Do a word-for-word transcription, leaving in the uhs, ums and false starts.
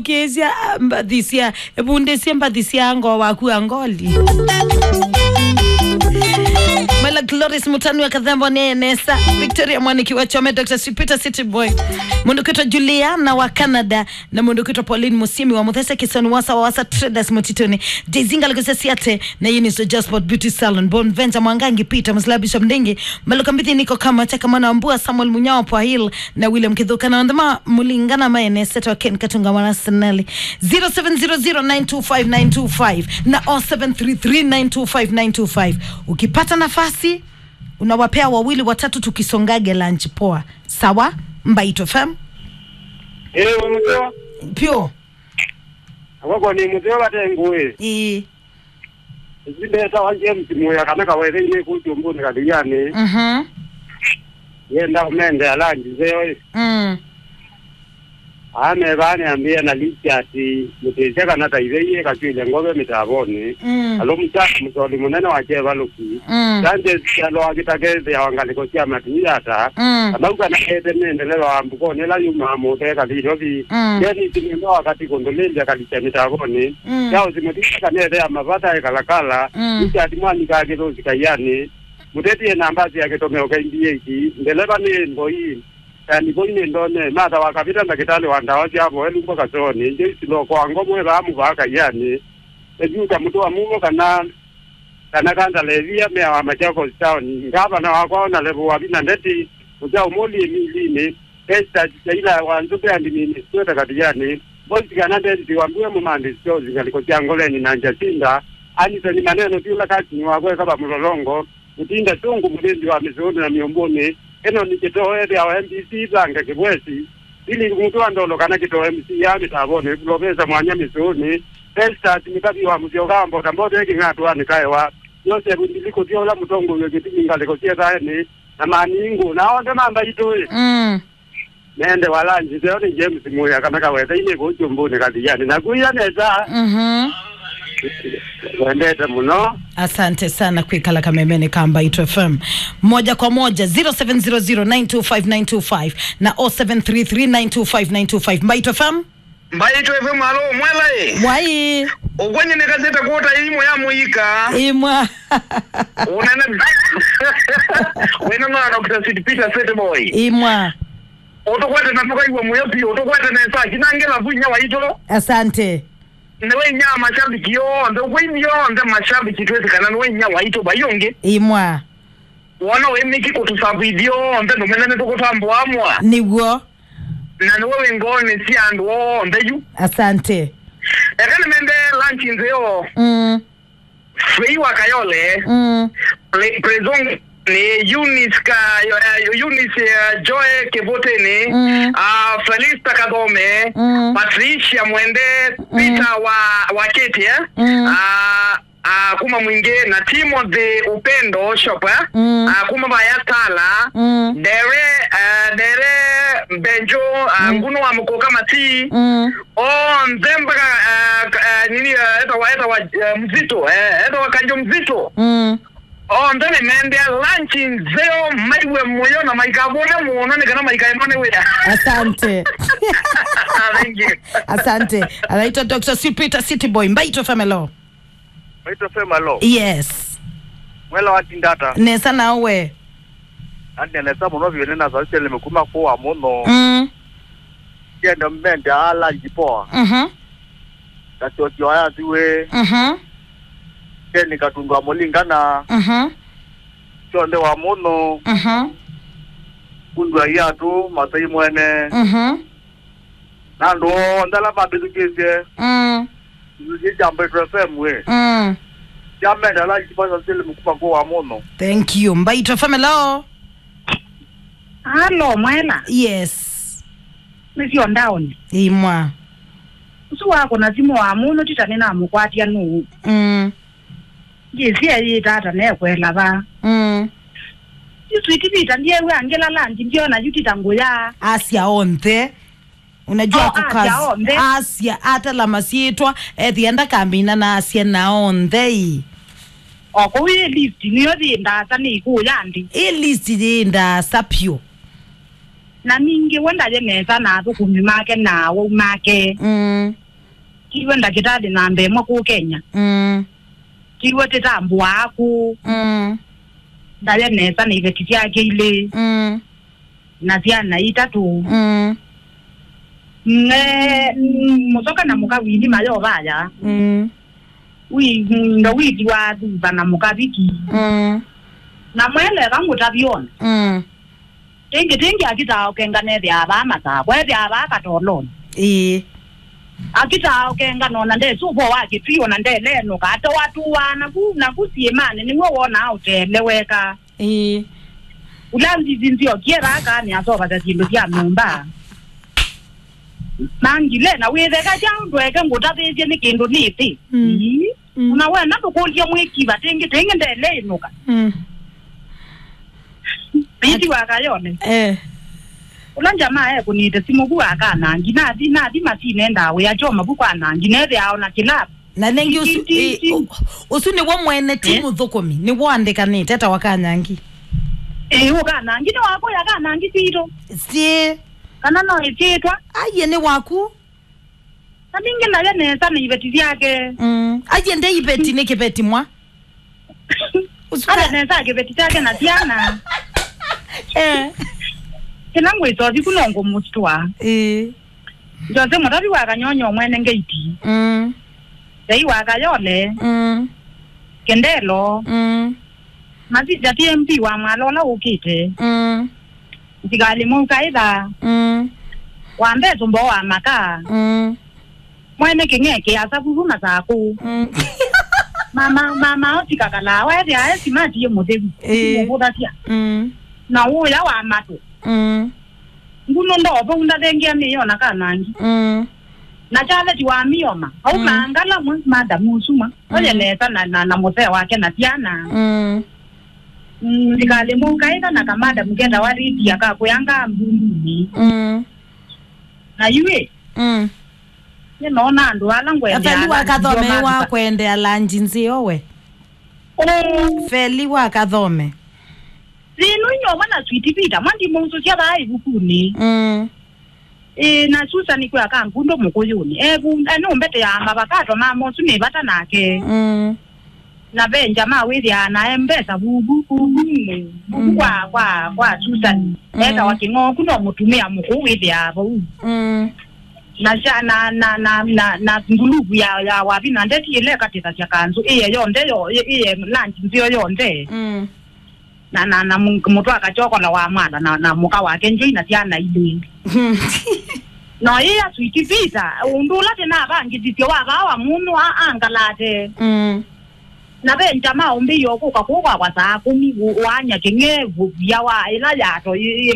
Kĩsya mbathi sya, vundĩsye mbathi sya ngoo waku Angoli. Mela Gloris Mutanua Kathembo nĩ nesa. Victoria Mwaniki wa Chome, Doctor Sweet Peter City Boy. Mũndũ kwĩtwa Juliana wa Canada, na mũndũ kwĩtwa Pauline Musimi wa Muthese Kisoni, Wasa wa Wasa Traders Mũtitũnĩ. Jay-Z Ngalĩko Sesiate na Eunice Jasper Beauty Salon. Bon Venture Mwangangi Peter Musla Bishop Ndingi. Maluka Mbithi Niko Kama Chaka Mwana wa Mbua, Samuel Munyao Pwahil, na William Kithuka na Ndema Mulingana Maene Seto Ken Katunga Mwana Senali. Zero seven zero zero nine two five nine two five na oh seven three three nine two five nine two five. Ukipata nafasi, unawapea wawili watatu tukisongage lunch poa. Sawa? Mbaitũ F M. Eh, mzee. Pio. Akoko ni mzee wa tengu, eh. Eh. Ĩsu ndetawa James Muya kana Kawetheinĩ kũu Kyũmbũnĩ Kathianĩ. Mhm. Yenda ũmende alanji nzeo ĩ. Mm. Amevaa nĩambĩe na Richard mũtĩsya kana ta ithe iye katwĩle ngove mĩtavonĩ. Mm. Alũmũsya mũsoli mũnene wa kyevalũki. Mm. Sanchez kyaloa kĩtakethĩawa ngalĩko sya matii ata. Mm. Amau kana ete nĩ ndeleva wa mbukonĩ ĩla yumaa mũtee kathi Nairobi. Mm. Dennis nĩenda wakati kũndũlĩlya kalikya mĩtavonĩ. Mm. Charles Mũtisa kana ethea mavata e Kalakala, mm. Richard Mwanyika Kĩthũsi Kaianĩ, mũteti ena mbasi ya kĩtomeo K B eight, ndeleva nĩ Mboi, yani Mboi nĩ Ndone, Martha wa Kavita ndakĩtalĩ wa ndawa sya vo elumbo Kasoonĩ, Joyce Loko wa Ngomo evaa mũvaa Kaianĩ, Ejuta Mũtũa Mumo kana, kana Kanda Levia, mea wa Machakos Town, ngavana wakwa ona Levo wa Vina Ndeti, Mũkyaũ Mũli Emilinĩ, Esther Chaila wa Nzũbe and Minister Kathianĩ, Boys kana David Wambua Mũmandi Stores ngalĩko sya Ngoleni na Jacinta, Anthony Maneno Tiula Katini wa Kweka va Mũlolongo, Mũtinda Chungu mũthĩnzi wa mĩsũnĩ na mĩũmbũnĩ, Enoni Kĩtoo ethĩawa M B C Thanga Kĩbwesi, Billy Mũtũ wa Ndolo kana Kĩtoo M C ya mĩtavonĩ, Profesa Mwanya mĩsũnĩ, Festus Mĩkavi wa Mũsyoka wa Mbota Mbota Kĩng'atũanĩ Kaewa, Joseph Ndiliku Thyola mũtongoi wa kĩtumi ngalĩko sya Thaenĩ, na Maningu, na onthe ma Mbaitũ ĩ. Mm. Nende walanji, nzeo nĩ James Muya kana Kawetheinĩ kũu Kyũmbũnĩ Kathianĩ. Na kuia nesa. Mhm. Wendete mũno. Asante sana kwĩkala kamemeni ka Mbaitũ F M. Moja kwa moja, zero seven zero zero nine two five nine two five na oh seven three three nine two five nine two five. Mbaitũ F M. Mbaitũ F M, alo, mwela ĩ? Mwai. Ũkwany'e nĩkasĩte kũta ĩimũ ya mũika. Imwa. Ũnene. Wĩna no Doctor Sweet Peter City Boy. Imwa. Ũtũkwete na tũkaigua mũyo piũ, ũtũkwete nesa, kinangela vinya waitũ. Asante. Nĩwe inya mashabiki yonthe, ũkwĩithi yonthe mashabiki twĩsĩ kana nĩwe inya waitũ vai ũngĩ. Imwa. Wona wĩ mĩki kũtũsavithia onthe, ndũmene nĩtũkũtambũa amwa. Nĩw'o. Na nĩwe wĩ ngoonĩ sya andũ onthe yu. Asante. Eka nĩmende lunch nzeo. Mm. Fei wa Kayole. Mm. Pre-, Prezong nĩ Eunice ka, eh, Eunice, eh, Joy Kĩvũtĩnĩ. Mm. Ah, Felista Kathome. Mm. Patricia Mwende. Mm. Peter wa, wa Kĩtĩ, eh? Mm. Ah, ah, kuma Mwingĩ na Timothy Upendo Shop, eh? Mm. Ah, kuma vaya Tala. Mm. Dere, ah, Dere Mbenjo, ah, mm. Ngunu wa Mũkũka Mati. Mm. Onthe mpaka, ah, ka-, ah, nini, ah, etawa, etawa, ah, Mzito, eh, etawa Kanjo Mzito. Mm. Onthe nĩmendea lunch nzeo, maiwe mũyo na maikavũne mũno nĩ kana maikaenwa nĩ wĩa. Asante. Thank you. Asante. Anaitwa Doctor Sweet Peter City Boy. Mbaitũ F M, hello. Mbaitũ F M, hello. Yes. Mwela wa tindata. Nesa nawe. Ande nesa mũno vyũ nĩ na sauti nĩ mekuma kwa mũno. Mm. Kenda mende ala njipoa. Mhm. Katotio aya thiwe. Mhm. Keni katundwa mulingana. Mhm. Chonde wa mũno. Mhm. Kundwa yatu masai mwene. Mhm. Na andũ onthe ala mambĩthukĩĩsye. Mm. Nĩ kya Mbaitũ F M ĩ. Mm. Kyamenda ala kipasa sili mkuma kwa mũno. Thank you. Mbaitũ F M, hello. Halo, mwela. Yes. Nĩ syo ndaoni. Imwa. Ũsu wakũna simũ wa mũno tita nĩnamũkwatya nũũ. Mm. Ngĩsĩ eyĩta ata nekwela va. Mm. Yu Sweet Peter ndiew'a ngĩlala ngi ndiona yu tita ngũya. Asya onthe. Unajua oh, kukazi. Asya onthe. Asya atala masyĩtwa, ethĩa ndakamina na asya na onthe ĩ. O kũu ĩ list nĩyo yĩ ndaasa nĩ ikũũ ya nthĩ. Ĩ list yĩ ndaasa pyũ. Na ningĩ we ndaye nesa na athũkũmi make na awau make. Mm. Tiwe ndakĩtalĩ namba ĩmwe kũũ Kenya. Mm. Tiwe tĩtambũaa kũũ. Mm. Ndaye nesa na iveti syake ilĩ. Mm. Na syana itatũ. Mm. Ne, mũsoka na mũka wili mayovaya. Mm. Wi, ndo withi wa thuva na mũkaviki. Mm. Na mweleka ngũtavyona. Mm. Ĩngĩ, ĩngĩ akĩtaa ũkenga nethĩaa vaa Masakũ, ethĩaa vaa Katolonĩ. Ĩĩ. Akĩtaa ũkenga nona ndesũva wa Kĩtui, ona ndelenũka, atewatũaa naku, naku syĩmanĩ, nĩw'o wonaa ũteeleweka. Ĩĩ. Ũla nzizi nziokie vaa kaa nĩasovasya syĩndũ sya nyũmba. Mangile, na wĩtheka kya ndweke ngũtavĩĩsye nĩ kĩndũ nĩthĩ. Mm. Ii. Mm. Ona wenda ndũkũlye mwĩkiva, tĩngĩ, tĩngĩ ndeleĩnũka. Mm. Ĩti wa Kayole. Eh. Ũla njamaa ekũnĩte simũ vu akanangi, nathi, nathi masinendaa wĩa kyo mavuku anangi, nethĩaa ona kĩlavu. Na nengi ũsu, ti, ti, i, ti. Ũ-, ũsu nĩw'o mwene ti, eh? Mũthũkũmi, nĩw'o andĩkanĩte ta wakanangi. Ĩĩ, ũkanangi nĩ wakũya kanangi sitũ. Syĩ. Kana no ĩsyĩtwa. Aiye nĩ waku. Na ningĩ ndaye nesa na iveti syake. Mm. Aiye nde iveti nĩ kĩveti mwa. Ũsu ala ka- nesa kĩveti kyake na syana. Eh. Kĩla ngwĩsothi ku no ngũmũstua. Ĩĩ. Jose Mũtavi wa Kanyonyo mwene ngeiti. Mm. Thei wa Kayole. Mm. Kendelo. Mm. Masija T M P wa Mwala ũla ũkĩte. Mm. Nzikalĩ Mũu Kaĩtha. Mm. Wa Mbesu Mboo wa Maka. Mm. Mwene Kĩng'e kĩasa vuvu Masakũ. Mm. Mama, mama otika kalaa, wethĩa e simati ĩ mũtheu. Ĩĩ. Mũvũthasya. Mm. Na ũya wa matũ. Mm. Ngunu ndoo vau ndathengia mĩyo na kanangi. Mm. Na chaveti wa mioma. Au, mm, maangala mwe, madam Usuma. Mm. Oye nesa na, na, na mũsee wake na syana. Mm. Mm, Nzikalĩ Mũu Kaĩtha na kamadamu ketawa Lydia kakwĩanga mbundunĩ. Mm. Na yu ĩ. Mm. Nĩnoona andũ ala ngwendea Feli wa Kathome wa kwendea lanji nzeo we. Mm. Feli wa Kathome. Thĩnu inyuomwe na Sweet Peter, mwa ndimũusũsya vaa ĩvukunĩ. Mm. Ĩĩ, na Susan kwĩ akangundo mũkũyũnĩ. Evu, enũmbeteaa mavakato ma mosu nĩ vata nake. Mm. Na venja ma wĩthĩaa nae mbesa vuvu, vuvu, vuvu, mm, kwa, kwa, kwa Susan. Mm. Etawa Kĩng'oku no mũtumĩa mũkũũ wĩthĩaa vau. Mm. Na sya, na, na, na, na, na nguluvu ya, ya wavi na ndeti ĩla ĩkatĩthasya kanzũ, ĩye yonthe yo, ĩ-, ĩye lunch nzeo yonthe. Mm. Na, na, na mũ-, mũtwe akachokola wa mwana na, na mũka wake Njoi na syana ilĩ. Mm. No ĩya Sweet Peter, ũndũ ũla tĩnavangĩthisye wa vaa wa mũnũ a-, angalate. Mm. Na ve njama ũmbĩie ũkũka kũu kwakwa saa kũmi, ũ-, ũanya Kĩng'e vũvia wa ĩla yato ĩ-, ĩ-,